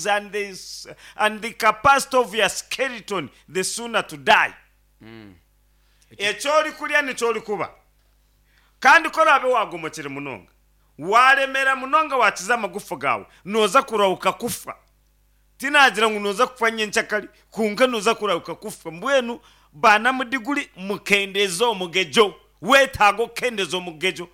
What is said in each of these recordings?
And the, and the capacity of your skeleton the sooner to die. Eki orikurya nikyo orikuba. Kandi ku oraabe waagomokire munonga, waaremeera munonga waakiza amagufa gaawe, nooza kurahuka kufa. Tinaagira ngu nooza kufa nyenkyakare, kwonka nooza kurahuka kufa. Mbwenu baanamudiguri mukendeeze omugegyo. Weetaaga okukendeeza omugegyo.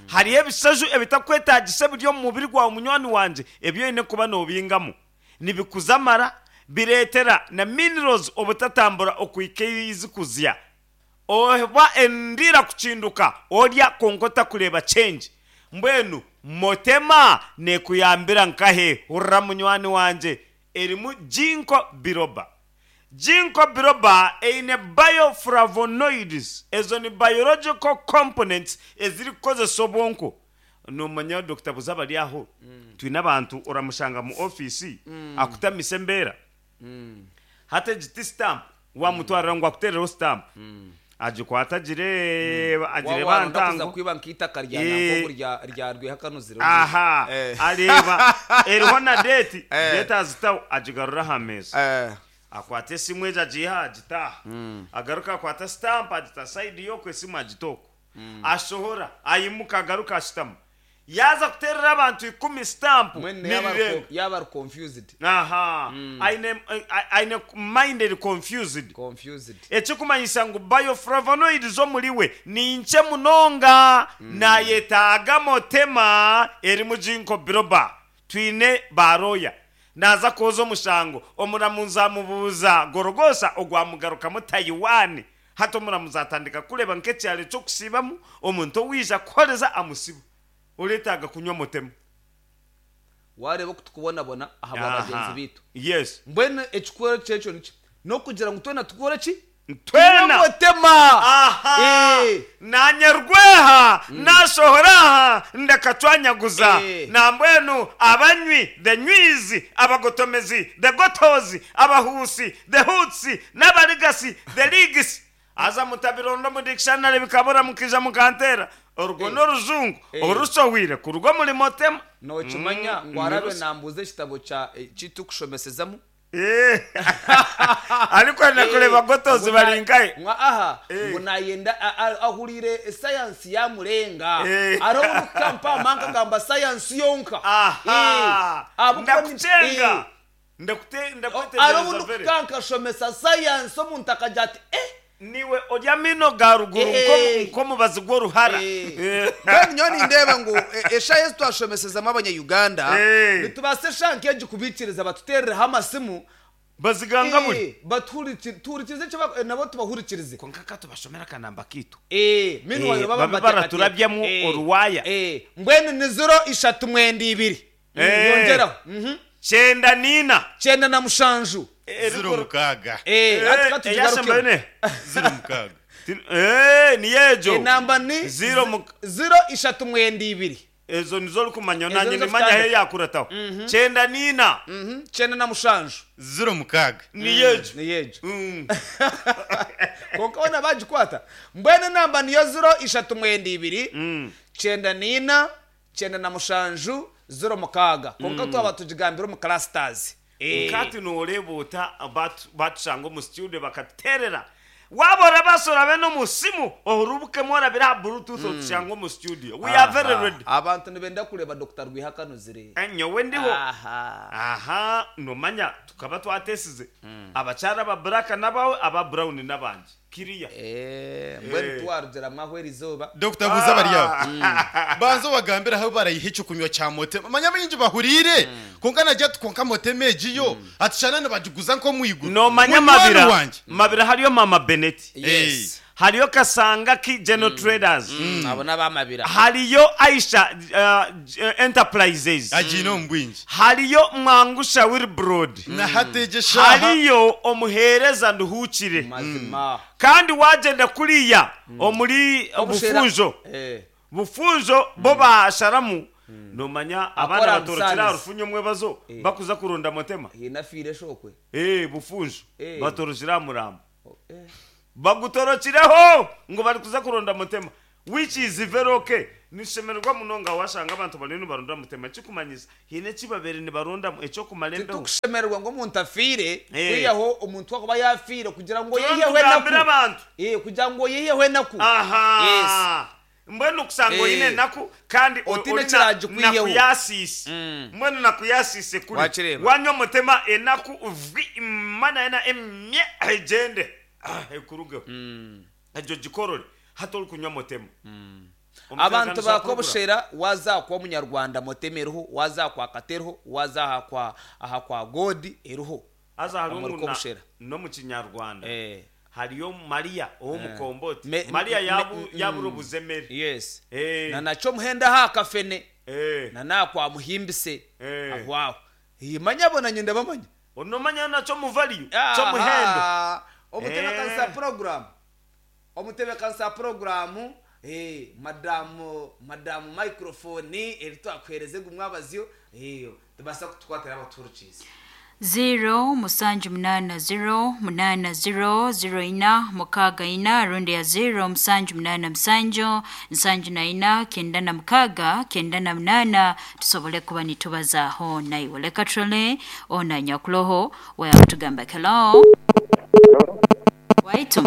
Hariho ebishaju ebitakwetaagisa ebiri omu mubiri gwawe munywani wangye ebi oine kuba noobingamu. Nibikuza amara, bireetera na minerals obutatambura okuhika ei zikuzya. Oba endiira kukinduka orya kwonka otakureeba change. Mbwenu Motema neekuyambira nkahe? Hurira munywani wangye, erimu Ginkgo biloba. Ginkgo biloba eine bioflavonoids, ezo ni biological components ezirikukozesa obwonko. Nomanya Dokita Buza bari aho, twine abantu oramushanga mu ofiisi akutamise embeera. Hati egi ti stamp, wamutwarira ngu akuteerereho stamp, agikwata agireeba, agireeba aha Waaba kuza ntango. kwiba nk'eitaka rya Eh. nankogu rya rya Rwehakanuzire Aha, Eh. areeba eriho na deeti, Eh. deeti azitaho agigarura aha meeza. Eh. Akwata esimu egyo agiiha agita aha. Agaruka akwata sitampu agita sayidi y'oku esimu agita oku. Ashohora, aimuka agaruka ashutama. Yaaza kuteerera abantu ikumi sitampu Mbwenu yaaba ari nirirenga. yaaba ari confused. Aha, aine aine mind eri confused. Confused. Ekirikumanyisa ngu bioflavonoids omuri we ni nkye munonga, naayetaaga motema erimu ginkgo biloba. Twine ba lawyer. Naaza kwoza omushango, omuramuzi amubuuza Gorogosa ogwamugarukamu Taiwan. Hati omuramuzi atandika kureeba nk'ekyaro eky'okusiibamu, omuntu owaija kuhoreza amusiba. Oreetaaga kunywa motema. Waareeba oku tukubonabona ahabwa bagyenzi Aha. baitu. Yes. Mbwenu ekikuru ky'ekyo niki? N'okugira ngu twena tukore ki? Twena. Tunywe motema! Aha! Eh. Naanye Rweha naashohora aha ndakacwanyaguza. Eh. Nambwenu abanywi, the nywis, abagotomezi, the gotos, abahuusi, the hoots, n'abarigasi, the ligs. Haza mutabironda omu dictionary bikabura mukaija mukanteera. Orwo n'orujungu orushohwire kuruga omuri Motema. Nookimanya ngu araabe naambuuza ekitabo kya eki turikushomeseza-mu? Arikwenda kureeba gotos bari nkahe? Ngu aha, ngu naayenda ahuriire sayansi yaamurenga. Hariho obu ndikukampa aha nkagamba sayansi yonka. Aha! Ahabw'okuba Ndakucenga! Hariho obu ndikuka nkashomesa sayansi omuntu akagira ati, Eh! Niiwe ori amaino ga ruguru nk'omubazi gw'oruhara. Mbwenu nyowe nindeeba ngu eshaaha ezi twashomesezamu abanya-Uganda, nitubaasa eshaaha nk'egi kubaikiriza batuteerereho amasimu, Bazigangabure. Tuhurikirize eki nabo tubahurikirize. Kwonka ka tubashomere akanamba kaitu. Meanwhile baba Babe baraturabyamu oruwaaya. Mbwenu ni ziro ishatu mwenda ibiri. Yongyeraho. Kyenda naina. 97. 06. Hati ka tugigarukemu. 06. Niyo egyo. Enamba ni Ziro 0 32. Ezo nizo orikumanya Ezo nanye nizo nimanya ahu zitandika. eyakurataho. 94. 97. 06. Niyo egyo. Niyo egyo. Kwonka boona baagikwata. Mbwenu enamba niyo 032, 94, 97, 06. Kwonka twaba tugigambire omu clusters. Nk'hati nooreeba ota baatushanga omu studio bakatuteerera. Waaba orabaasa orabe n'omu simu orubukemu orabire aha bluetooth otushange omu studio. We are very ready. Abantu nibenda kureeba Dokita Rwihaka-Nuzire. Nyowe ndiho. Aha, nomanya tukaba twatesize. Abakyara aba black n'abawe, aba brown n'abangye. Kiriya. Mbwenu tiwarugiramu aho erizooba. Dokita buuza abari aho. Banza obagambire ahu barayiha eky'okunywa kya Motema. Manya abaingi bahuriire kwonka nagira ati kwonka Motema egi yo ati shana nibagiguza nk'omu iguru. Nomanya Munywani Mabira, wangye. Mabira hariyo Mama Beneti. Yes. Hariyo Kasangaki General Traders. Abo n'aba Mabira. Hariyo Aisha Enterprises. Agiine omu bwingi. Hariyo Mwangusha Wilbrod. Na hati egi eshaaha. Hariyo Omuheereza Nduhuukire. Mazima. Kandi waagyenda kuriya omuri Obushera. Bufunjo, Eh. Bufunjo bo baasharamu, noomanya abaana Akora batorokire aha Busanzi. rufunyo omwebazo bakuza kuronda Motema. Haine afiire eshokwe. Eh, Bufunjo Eh. batorokire aha murambo. Eh. Bagutorokireho ngu barikuza kuronda Motema which is very okay. Nishemererwa munonga washanga abantu bariyo nibaronda mutema ekikumanyisa haine eki babaire nibarondamu eky'okumara embeho. Titukushemererwa ngu omuntu afiire Eh. kwihaho omuntu akuba yafiire kugira ngu Tuba oyiheho nitugambira enaku. abantu. Eh, kugira ngu oyiheho enaku. Yes. Aha! Mbwenu okusanga Eh. oine enaku kandi Otiine ori ekiragikwiheho. nakuyasiise. Mbwenu nakuyasiise kuri. Wakireeba. Wanywa omutema enaku vi mana yena emye egyende ah, ekurugeho. Egyo gikorore hati orikunywa mutema. Omutema Abantu kandi oshobora kurugura. bakobushera waza kwa munyarwanda motema eriho, waza kwa kata eriho, waza aha kwa aha kwa godi eriho. Haza hariho Omuri ngu na- Kobushera. n'omu kinyarwanda Eh. hariyo Mariya ow'omukomboti. Me- Mariya me- yabu yabura obuzemere. Yes. Eh. Na nakyo omuhendo aha kafene. Eh. Na nakwa muhimbise. Eh. Aho aho. Manya bo nanye ndabamanya. Onomanya nakyo muvaliyu ky'omuhendo. Aha. Omutebekanisa Eh. program. Omutebekanisa program eh madamu madamu microphone eri twakuhereze gumwabazyo eh tubasa kutukwatira abaturukize. 0 musanju munana 0 munana 0 0 ina mukaaga ina rundi ya 0 musanju munana musanju nsanju na ina kenda na mukaaga kenda na munana tusobole kuba nitubazaaho naiwe leka turole ona nyakuloho weyakutugamba hello waitu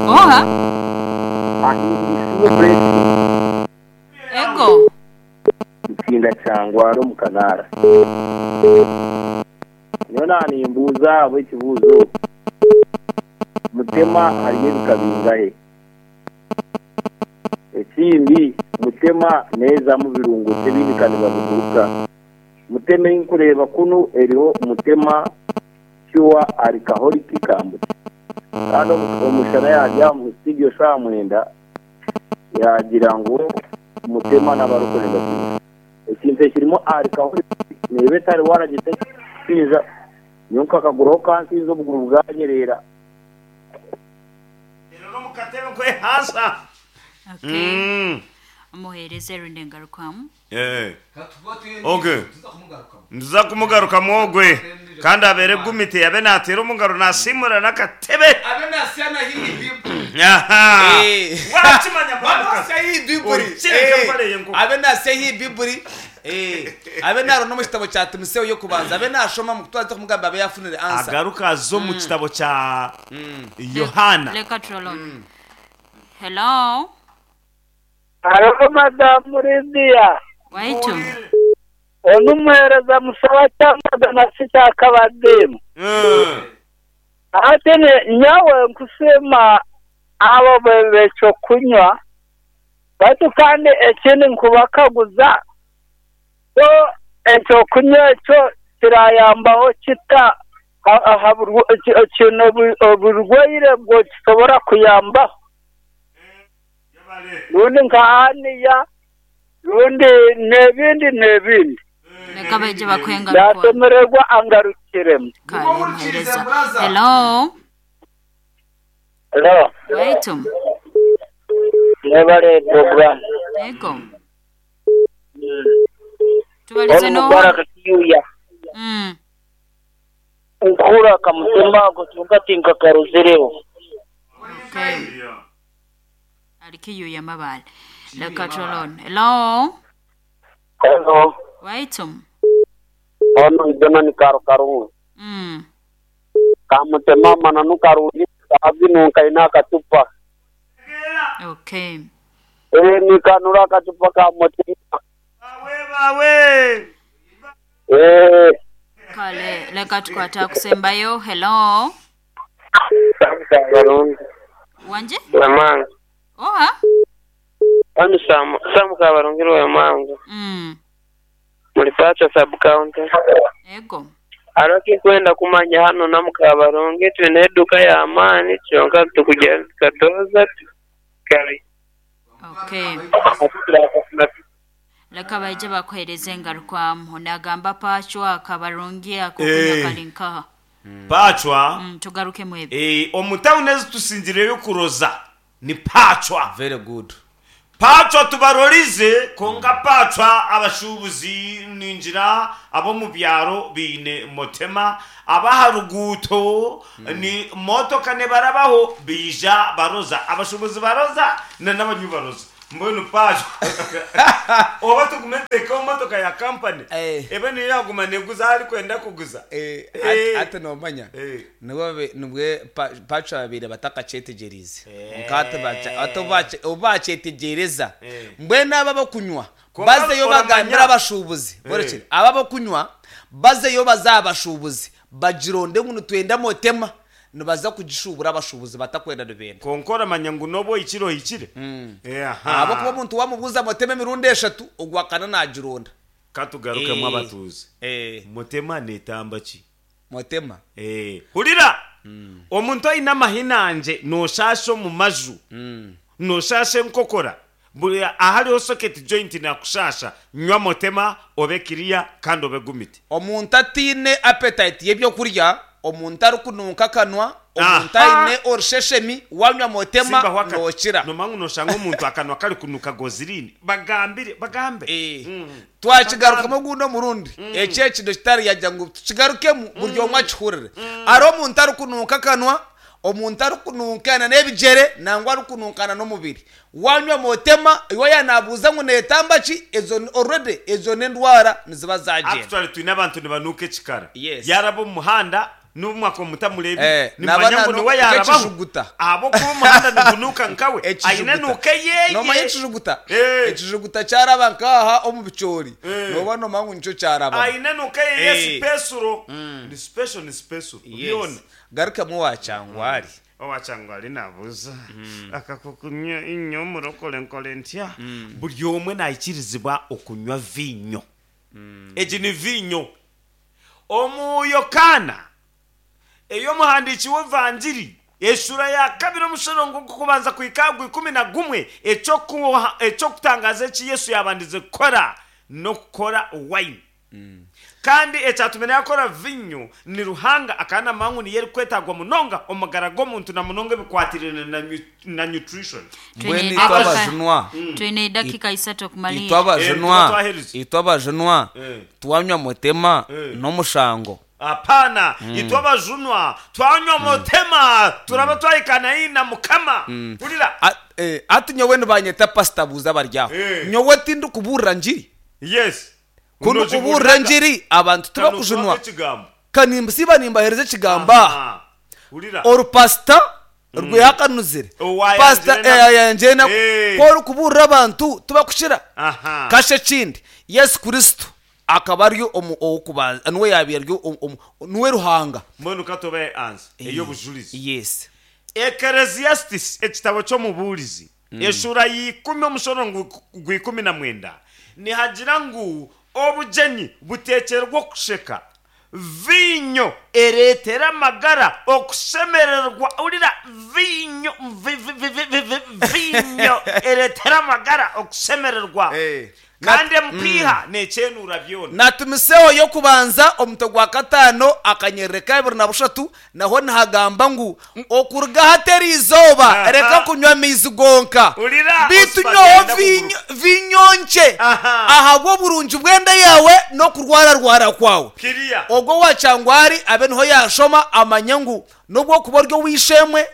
oha ego Nsinda kyangwara omu kanaara. Nyowe naanimbuuza abo ekibuuzo mutema hariyo ebika bingahe? Ekindi mutema neezamu birungo ki ebindi kandi babiguruka? Mutema ei nkureeba kunu eriho mutema pure alcoholic kambucha. Kandi omushana yaarya omu studio shaaha mwenda yaagira ngu mutema n'abarikurenda kimwe. Ekintu ekirimu alcoholic neeba etari waragitekiza nyowe nkakaguraho kansinza obuguru bwanyerera. Rero omu katebe nkwehasa. okay omuheereze rundi engarukwamu Eh. Okay. Nza kumugarukamu ogwe kandi abeere gumite yabe nateera omungaro nasiimura n'akatebe. Abe nasya hii bibuli. Aha. Eh. Wakimanya mwamuka. Nasya hii bibuli. Okireka empare y'enkoko. Abe nasya hii bibuli. Eh. Abe narona omu kitabo kya Timotheo y'okubanza abe nashoma mu kutwaza kumugamba abe yafunire answer. Agaruka aze omu kitabo kya Yohana. leka turole hello Hariho madamu Lidiya waitu onu omuheereza musaba kyamagana si kyakabadimu Eh. ate nyawe nkusiima abo bekyokunywa baitu kandi ekindi nkubakaguza so ekyokunywa ekyo kirayambaho kita kino oburwaire bwo kisobora kuyambaho rundi nka aniya rundi n'ebindi n'ebindi leka baije bakuhengarukwamu ndasemererwa angarukiremu kale muheereza hello Hello. waitu Mwebale program. ego tubalize Ono no Mubaraka Kiyuya. Nkura kamutemba ako kyonka tinkakarozereho. okay alikiyuya mabale leka turole hello Hello. waitu Ono idona ni karo karungu. Kamutema mananu karungi kabinu nkaina akatupa. okay Eh nikanura akatupa ka mutema. Bawe bawe. Eh kale leka tukwata kusembayo hello Karungi. wanje Wemanga. oha Hano Sam Sam Kabarungiro Wemanga. Muri Pacha sub county. ego Hariho ekinkwenda kumanya hano na Mukabarungi twine eduka y'amaani kyonka tukugenda tukatoza kare. okay leka baije bakuhereze engarukwamu nagamba pachwa kabarungi akokunywa Eh. kali nkaha Pachwa. Tugarukemu ebyo Eh, omu tawuni ezi tusingireyo kuroza ni pachwa. Very good. Pacwa tubarorize kwonka pacwa abashuubuzi ningira ab'omu byaro baine motema, ab'aha ruguuto ni motoka nibarabaho baija baroza, abashuubuzi baroza na n'abanywi baroza. Mbwenu pacwa oba tugume tuteekeho motoka ya kampani ebe niyo yaaguma neeguza ahu arikwenda kuguza. Hati noomanya Nibwo nibwo Pacho babaire batakakyetegyereize. Kwonka hati bakya hati obu bakye obu bakyetegyereza, mbwenu abo abokunywa Kwonka bazeyo oramanya. bagambire abashuubuzi, borekye, abo abokunywa bazeyo baze aha bashuubuzi bagironde ngu nitwenda motema, nibaza kugishuubura abashuubuzi batakwenda nibenda. Kwonka oramanya ngu n'obu ohikire ohikire. Aha. Ahabw'okuba omuntu waamubuuza motema emirundi eshatu, ogwakana naagironda. Ka tugarukemu abatuuze. Motema neetamba ki? Motema. Eh, hurira! Omuntu oine amahinangye nooshaasha omu maju, nooshaasha enkokora, buri ahariho socket joint nakushaasha, nywa motema obe kiriya kandi obe gumite. Omuntu ataine appetite y'ebyokurya, omuntu arikunuuka akanwa, omuntu Aha! aine orusheshemi, wanywa motema Simbaho akati. nookira. Noomanya ngu nooshanga omuntu akanwa karikunuuka gozirine. Bagambire, bagambe. Eh. Twakigarukamu ogundi omurundi, eki ekintu kitari yagira ngu tukigarukemu buri omwe akihurire. Hariho omuntu arikunuuka akanwa, omuntu arikununkana n'ebigyere nangwa arikununkana n'omubiri. Wanywa motema, iwe yaaba naabuuza ngu neetamba ki, ezo already ezo n'endwara niziba zagyenda. Actually twine abantu nibanuuka ekikara. Yes. Yaaraba omu muhanda N'obu mwakuba mutamureebire, Eh, naba nimumanya ngu niwe nanuuka yaarabaho, ekijuguta. ahabw'okuba omuhanda nigunuuka nkawe, aine Ekijuguta. enuuka eyeye. Noomanya ekijuguta? Eh. Ekijuguta kyaraba nk'aha omu bicoori, Eh. nooba noomanya ngu nikyo kyarabamu. Aine enuuka eyeye Eh. sipesuro. Ni special ni sipesuro. Yes. Byona. Garukamu owa Kyangwari. Owa Kyangwari naabuuza, Akakukunywa inyo omurokore nkore ntya? Buri omwe naikirizibwa okunywa viinyo. Egi ni viinyo. Omu Yokaana, ey'omuhandiiki w'Evangiri, eshuura ya kabiri omushorongo gw'okubanza kuhika aha gw'ikumi na gumwe, eky'okutangaaza eki Yesu yaabandize kukora n'okukora waini. Kandi ekyatumire yaakora viinyo ni Ruhanga akaba naamanya ngu niyo erikwetaagwa munonga omu magara g'omuntu na munonga ebikwatiraine na nutrition. Mbwenu Twine itwe edakika abajunwa, twine edakika isatu itwe okumalirra. Eh, tuba abajunwa, twaherize. itwe abajunwa Eh. twanywa mutema Eh. n'omushango. Apana, itwe abajunwa twanywa mutema turaba twahikaana haihi na Mukama. Hurira. A- eh, Hati nyowe nibanyeta pasita buuza abari aho. Eh. Nyowe tindikubuurira ngiri. Yes. Ku ndikubuurira engiri, abantu tibakujunwa. Ka nimbasiiba nimbaheereza ekigambo aha. Orupasita rwehakanuzire. Pasita ayangire enaku. Ku orikubuurira abantu, tibakukira. Kasha ekindi, Yesu Kristo akaba ari omu ow'okubanza, niwe yaabaire ari omu, niwe Ruhanga. Mbwenu ka tubahe ansa ey'obujurizi. Yes. Ekereziasitisi, ekitabo ky'Omubuurizi, Eshuura ya ikumi omushoro gw'ikumi na mwenda nihagira ngu obugyenyi buteekyerwa okusheka, viinyo ereetera amagara okushemererwa. Hurira, viinyo, vi-vi-vi-vi-vi-viinyo ereetera amagara okushemererwa. Kandi empiiha neekyenuura byona. Na Timotheo y'okubanza omutwe gwa kataano akanyerere ka abiri na bushatu naho nihagamba ngu, Okuruga hati eri izooba Aha. reka kunywa amaizi gonka, Hurira, beitu Oscar nywaho agenda viinyo kuguruka. viinyo nkye Aha. ahabw'oburungi bw'enda yaawe n'okurwararwara kwawe. Kiriya. Ogwo owa Kyangwari abe niho yaashoma amanye ngu N'obu okuba ori ow'eishe-emwe,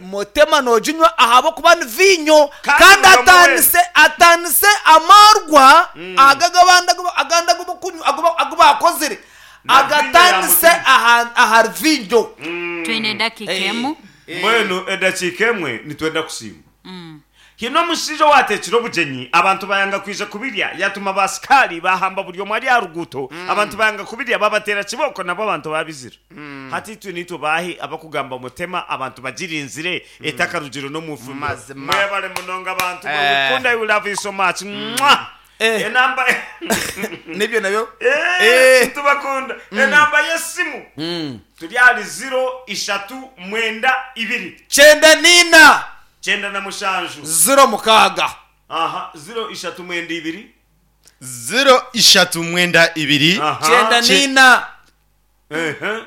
motema nooginywa ahabw'okuba ni viinyo, Kandi kandi buri omwe weena. ataanise ataanise amaarwa aga ag'abandi agu agandi agu barikunywa agu agu baakozire, Na viinyo ya agataanise mutema. aha ahari viinyo. Twine edakiika emu. Mbwenu edakiika emwe nitwenda kusiima. Haine omushaija owaateekire obugyenyi, abantu baayanga kwija kubirya, yaatuma baasikaari baahamba buri omwe ari aha ruguuto, abantu baayanga kubirya, baabateera kibooko nabo abantu baabizira. Hati itwe niitwe baahi abakugamba mutema abantu bagirinzire etakarugire n'omu ifumbiro. Mazima. Mwebare munonga bantu mwe, Eh. we kunda we love you so much. Mwah! Eh. Enamba Nibyo nabyo. Eh, Eh. nitubakunda. Enamba y'esimu turi ahari ziro ishatu mwenda ibiri. 94. 97. 06. Aha, ziro ishatu mwenda ibiri. Ziro ishatu mwenda ibiri. Aha. 94. Ehe.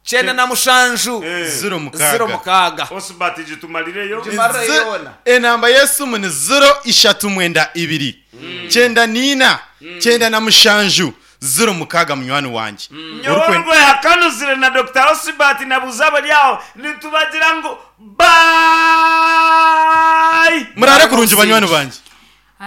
97 06. 06. Osbert gitumarireyo. Gimarireyo yoona. Enamba y'esimu ni ziro ishatu mwenda ibiri, 94, 97, 06 munywani wangye. Nyowe orwehakanuzire na Dokita Osbert nabuuza abari aho nitubagira ngu bye! Muraare kurungi banywani bangye.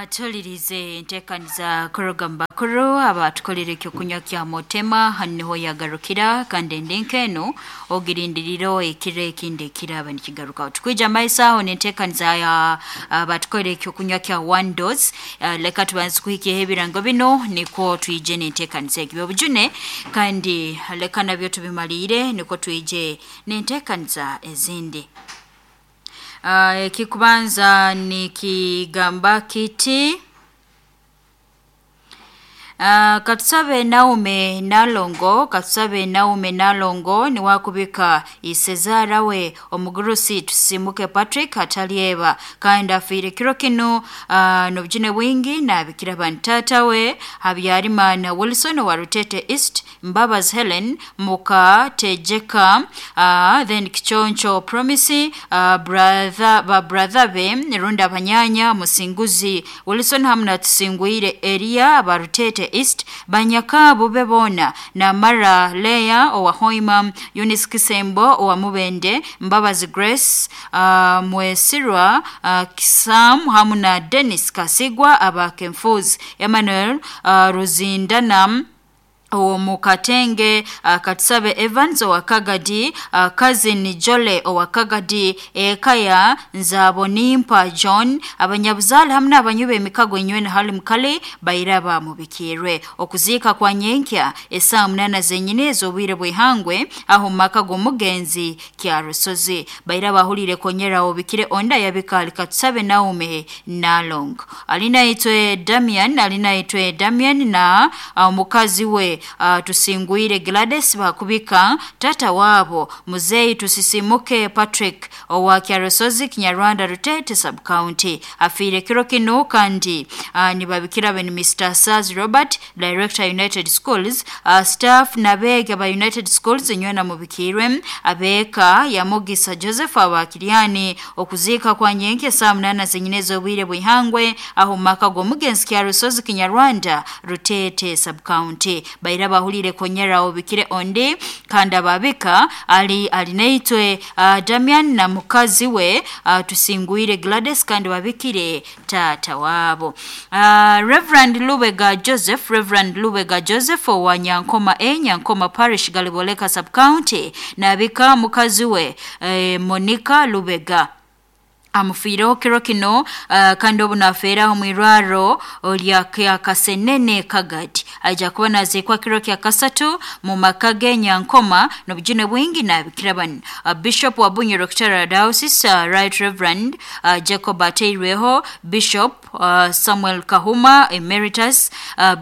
Tuhulirize enteekaniza kuruga mu bakuru abatukolera ekyokunywa kya Motema. Hanu niho yagarukira kandi endi nk'enu ogirindirire ekiro ekindi ekiraba nikigarukaho. Tukwija maiso aho n'enteekaniza ya abatukolera ekyokunywa kya One Dose. Leka tubanze kuhikyeho ebirango bino nikwo twije n'enteekaniza egi obujune, kandi leka nabyo tubimaliire nikwo twije n'enteekaniza ezindi. Ekikubanza nikigamba kiti: Katusabe Naume Nalongo, Katusabe Naume Nalongo niwakubika isezaara we omugurusi Tusimuke Patrick atalyeba kandi afiire kiro kinu, n'obujune bwingi nabikira bantata we Habyarimana Wilson wa Rutete East, Mbabazi Helen muka Tejeka, then Kichoncho Promise, brother ba brother be rundi abanyanya Musinguzi Wilson hamwe na Tusingwire Elia ba Rutete East, banyakabu be boona Namara Leya owa Hoima, Eunice Kisembo owa Mubende, Mbabazi Grace, Mwesirwa, Kisam hamwe na Dennis Kasigwa aba Kenfuzi, Emmanuel, Ruzindana omu Katenge, Katusabe Evans owa Kagadi, Cousin Jole owa Kagadi, Ekaya Nzabonimpa John, abanyabuzaale hamwe n'abanywi b'emikago enywene hali mukali bairaba mubikirwe. Okuziika kwa nyenkya esaaha 8 zenyini ez'obwire bw'ihangwe aho mu maka g'omugenzi Kyarusozi. Bairaba ahuriire konyera obikire onda yabika Katusabe Naume Nalong. Alinaitwe Damian, alinaitwe Damian na omukazi we Tusingwire Gladys bakubika tata wabo muzeyi Tusisimuke Patrick owa Kyarusozi Kinyarwanda Rutete sub county afiire kiro kino kandi nibabikira beni Mr. Saz Robert, Director United Schools, staff nabega ba United Schools nywena mubikirwe abeka ya Mugisa Joseph abakiriani. Okuziika kwa nyenke saa 8 zenyine z'obwire bw'ihangwe aho mu maka g'omugenzi Kyarusozi Kinyarwanda Rutete sub county. Baira bahulire konyera obikire ondi kandi ababika ali alinaitwe Damian na mukazi we Tusingwire Gladys kandi babikire tata wabo. Reverend Lubega Joseph, Reverend Lubega Joseph owa Nyankoma A, Nyankoma Parish Galiboleka sub county nabika mukazi we Monica Lubega amufiireho kiro kino, kandi obu nafeeraho mu irwaro lya Kasenene Kagadi. Aija kuba naziikwa kiro kya kasatu mu maka ge Nyankoma n'obujune bwingi nabikira banu. Bishop wa Bunyoro Kitara Diocese, Right Reverend Jacob Ateirweho, Bishop Samuel Kahuma Emeritus,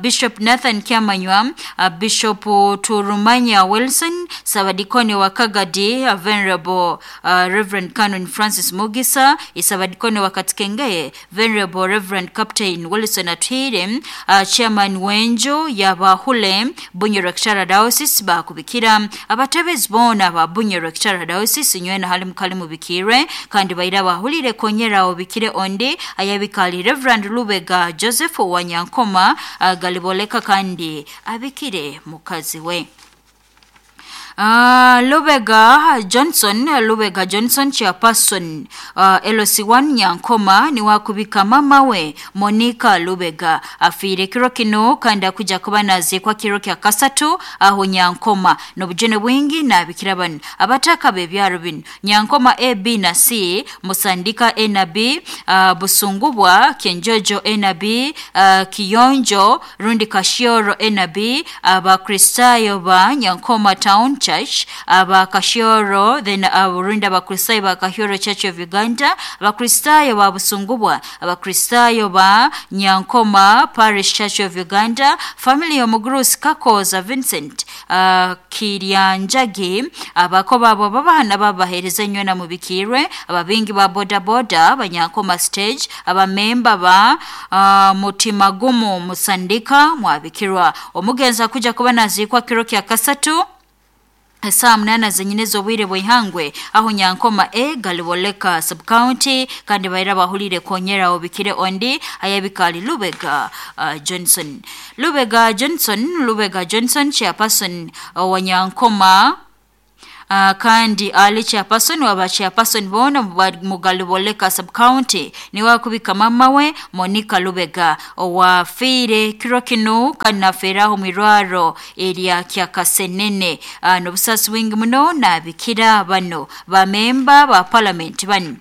Bishop Nathan Kyamanywa, Bishop Turumanya Wilson, Sabadikoni wa Kagadi, Venerable Reverend Canon Francis Mugisa, Isabadikoni wa Katikengeye, Venerable Reverend Captain Wilson Atwire, Chairman Wenjo Yabahule Bunyoro Kitara Diocese bakubikira abatebezi boona ba Bunyoro Kitara Diocese nywena hali mukali mubikirwe kandi baira bahulire konyera obikire ondi ayabikali Reverend Lubega Joseph wa Nyankoma, Galiboleka kandi abikire mukazi we. Lubega Johnson, Lubega Johnson chairperson, LC1 Nyankoma niwakubika mama we Monica Lubega afiire kiro kino kandi akuja kuba naziikwa kiro kya kasatu aho Nyankoma n'obujune bwingi nabikira banu abataka b'ebyaro bino Nyankoma A, B na C, Musandika A na B, Busungubwa Kenjojo A na B, Kiyonjo rundi Kashioro A na B, Abakristayo ba Nyankoma Town Church, Abakashioro, then rundi Abakristayo ba Kahioro Church of Uganda, Abakristayo ba Busungubwa, Abakristayo ba Nyankoma Parish Church of Uganda, family y'omugurusi Kakoza Vincent, Kiryanjagi, abakoba abo babana babahereza enywena mubikirwe, ababingi ba boda boda Banyankoma stage, abamemba ba Mutimagumu Musandika mwabikirwa. Omugenzi akuja kuba naziikwa kiro kya kasatu Esaaha munaana zenyine ez'obwire bw'eihangwe aho Nyankoma A Galiboleka sub-county kandi baira bahurire konyera obikire ondi ayabika ali Lubega Johnson. Lubega Johnson, Lubega Johnson chairperson wa Nyankoma kandi ali chairperson waba chairperson boona mu Galiboleka sub-county niwe akubika mama we Monica Lubega owafiire kiro kinu kandi nafeeraho mu irwaro erya Kyakasenene. N'obusaasi bwingi muno nabikira bano bamemba ba parliament banu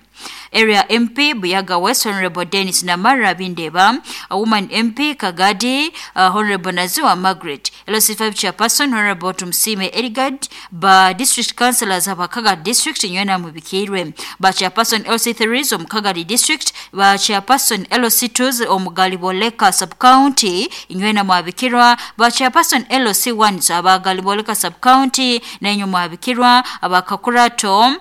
Area MP Buyaga West Honorable Dennis Namara Bindeba, a Woman MP Kagadi Honorable Naziwa Margaret, LC5 Chairperson Honorable Tumsime Eligad, ba District Councillors aba Kagadi District nywena mubikirwe, ba Chairperson LC3 omu Kagadi District, ba Chairperson LC2 omu Galiboleka Sub-County nywena mwabikirwa, ba Chairperson LC1 aba Galiboleka Sub-County nenyu mwabikirwa, aba Kakurato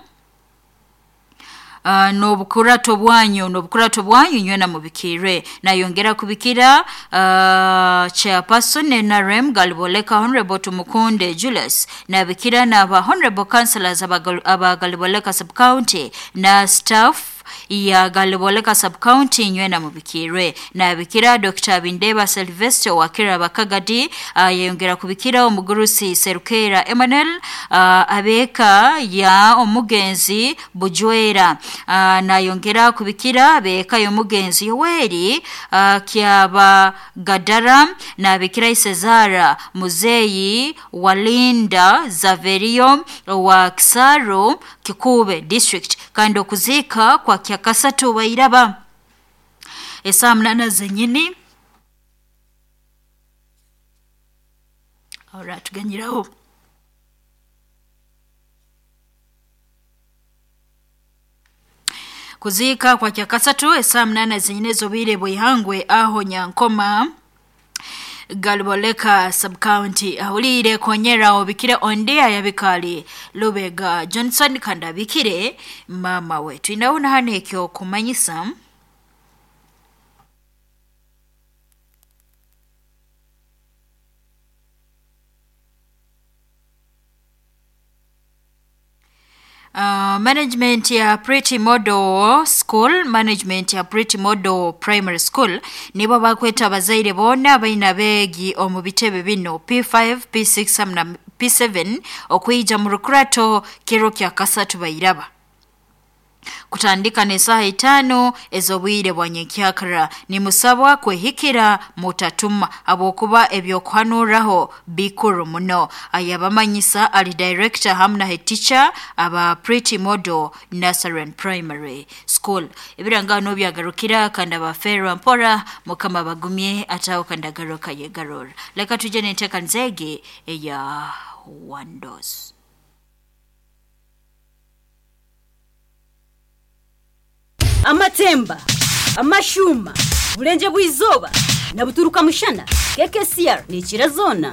n'obukurato bwanyu n'obukurato bwanyu nywena mubikirwe. Nayongera kubikira chairperson NRM Galiboleka Honorable Tumukunde Julius, nabikira n'aba Honorable Councillors aba Galiboleka Sub-County na staff ya Galiboleka Sub-County nywena mubikirwe. Nabikira Dr. Bindeba Sylvester wa Kiraba Kagadi, yayongera kubikira omugurusi Serukera Emmanuel, abeka ya omugenzi Bujwera, nayongera kubikira abeka y'omugenzi Yoweri Kyaba Gadara, nabikira Isezara Muzeyi Walinda Zaverio wa Kisaro Kikube District, kandi okuzika kwa Kyakasatu bairaba esaa munana zenyini. Ora tuganyiraho kuzika kwa Kyakasatu esaa munana zenyini ez'obwire bw'eihangwe aho Nyankoma Galiboleka Sub-County. Ahulire konyera obikire ondi ayabikali Lubega Johnson kandi abikire mama we. Twinaho hano ekyo kumanyisa Management ya Pretty Model School, management ya Pretty Model Primary School nibo bakweta abazaire boona abaina beegi omu bitebe bino P5, P6 hamwe na P7 okwija mu rukurato kiro kya kasatu bairaba kutandika n'esaaha itaano ez'obwire bwa nyenkyakara. Nimusabwa kwehikira mutatuma habwokuba ebyokuhanuraho bikuru muno. Ayabamanyisa ali director hamwe na head teacher aba Pretty Model Nursery and Primary School. Ebirangano byagarukira kandi abaferwa mpora mukama bagumye ataho kandi agaruka yegarura. Leka tuje n'enteekaniza egi eya Windows. Amatemba, amashuma, bulenje bw'izoba na buturuka mushana. KKCR ni zona.